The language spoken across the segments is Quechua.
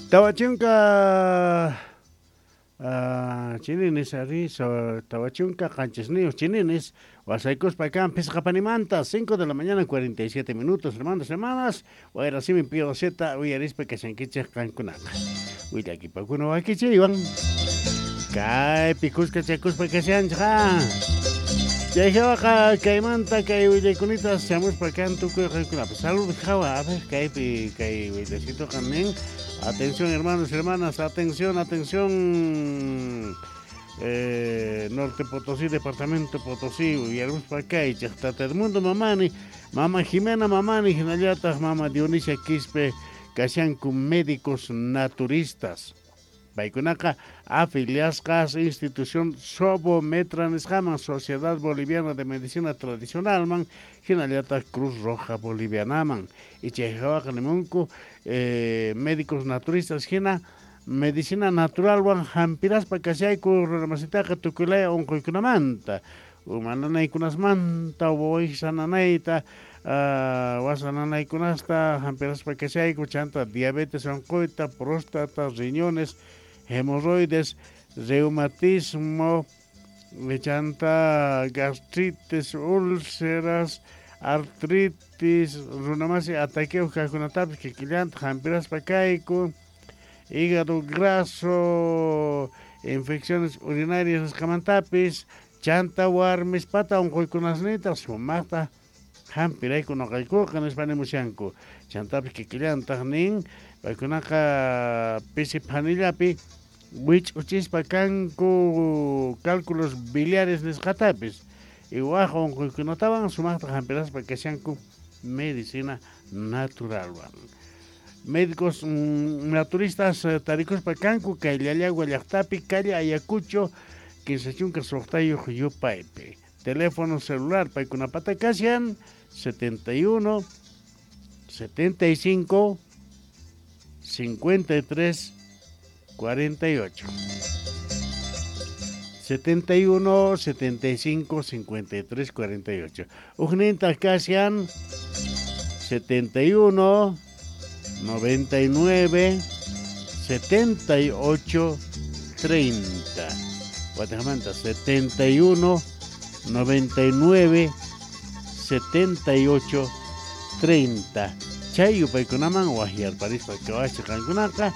Tawachunka chininis ari 47 chininis wasaykuspa kan phisqapanimanta 5 de la mañana 47 minutos, hermanos, hermanas, wayrasimi pio Z uyarispa kashankichik qankunaqa willakipakuna wakichiywan kaypi kuskachakuspa kashanchik chay hawaqa kaymanta kay willaykunita chamuspa kan tukuy qankunapas saludos hawa. A ver, kaypi kay willasituqa nin: "Atención, hermanos, hermanas, atención, atención, Norte Potosí, Departamento Potosí, uyarimuspa kaychik Tata Edmundo Mamani, Mama Jimena Mamani, hinallataq Mama Dionisia Quispe kashanku médicos naturistas. Paykunaqa afiliasqas institución Sobometra nisqaman, Sociedad Boliviana de Medicina Tradicionalman, hinallataq Cruz Roja Bolivianaman. Y chay hawaqa nimunku médicos naturistas hina medicina naturalwan hampiraspa kashayku runamasitaqa tukuylaya unquykunamanta, uma nanaykunasmanta, wawaysa nanayta, wasa nanaykunasta hampiraspa kashayku, chanta diabetes unquyta, próstata, riñones, hemorroides, reumatismo, chanta gastritis, úlceras, artritis, runamasi ataqueo kaqkunatapis kikillanta hampiraspa kayku, hígado graso, infecciones urinarias nisqamantapis, chanta warmispata unquykunasnita sumaqta hampirayku nuqaykuqa nispa nimushanku. Chantapis kikillantaq nin paykunaqa pisi phanillapi wich'uchispa kanku cálculos biliares nisqatapis y waq unquykunatawan sumaqta hampiraspa kashanku medicina naturalwan. Médicos naturistas tarikuspa kanku kay Llallagua llaqtapi, calle Ayacucho 36 yupaypi. Teléfono celular paykunapata kashan 71 75 53 48. 71 75 53 48. Ujninta kashan 71 99 78 30. Guatemala 71 99 78 30. Chay yupaykunaman waqyarparispa kawaschi qankunaqa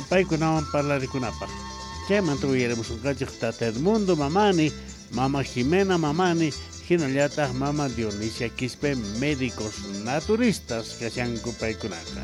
paykunawan parlarikunapaq. Chaymanta uyarimusunqachik Tata Edmundo Mamani, Mama Jimena Mamani, hinallataq Mama Dionisia Quispe, médicos naturistas kashanku paykunaqa.